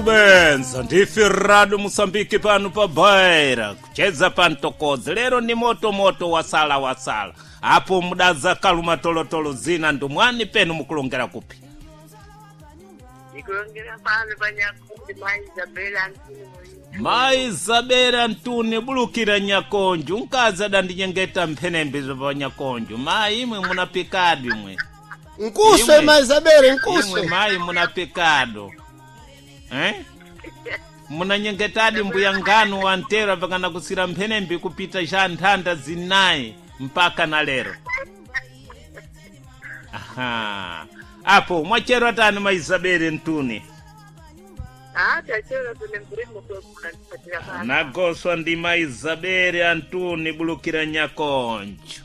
Benza ndife rado Musambiki pano pa Baira kucheza pantokodzi lero ni moto moto wasala wasala apo mudaza kaluma tolotolo zina ndumwani penu mukulongera kupi? Ndikulongera pano panyakundi mai Isabela Antuni. Mai Isabela Ntuni bulukira nyakonju mkazi adandinyengeta mphenembe pa nyakonju. Mayi imwe munapikadi imwe. Nkuswe Imwe. mai Isabela Imwe nkuswe. mayi munapikado, eh? Munanyengetadi mbuya nganu wantera pakana kusira mphenembe kupita xa nthanda zinayi mpaka na lero. Aha, apo mwachero atani mai Isabela Ntuni? Ah, tachero tune murimo kwekunandipatira pano. Nagoswa ndi mai Isabela Antuni bulukira nyakonjo.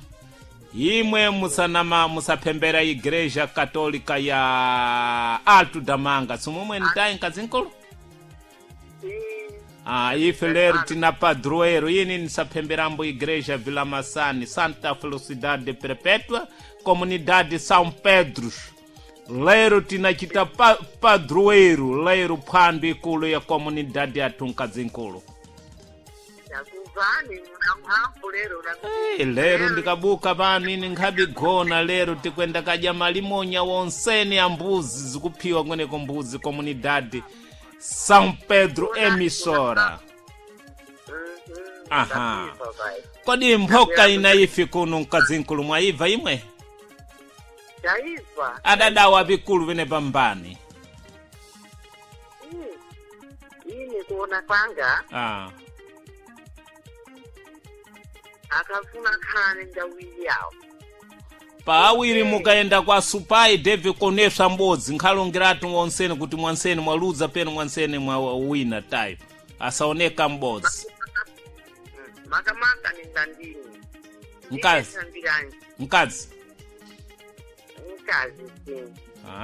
Imwe musanama musaphembera igreja katolika ya Alto Damanga simumwe ntayi nkazinkulu. Ah, ife lero tina padroeiro ini nisaphemberambo igreja Vila Massani Santa Felicidade Perpétua Comunidade São Pedro. Lero tinachita padroeiro lero phwando ikulu ya comunidade yathu nkazinkulu. Ndakuvani muna mphamvu lero. Hey, lero ndikabuka pano ini nkhabigona lero tikwenda kadya malimonya wonsene ya mbuzi zikuphiwa kweneko mbuzi comunidade São Pedro emissora. Aha. Kodi mphoka ina ifi kuno mkazinkulu mwaibva imwe? Taibva. Adadawa vikulu vene pambani. Ini kuona kwanga Ah. akafuna khane ndawili yawo. Paawiri mukaenda kwa supai David koneswa mbodzi nkhalongерatu wonsene kuti mwansene mwaluza penu mwansene mwa wina tayo asaoneka mbodzi. Makamaka ningandini. Mkazi. Ndingesambiranji. Mkazi. Mkazi.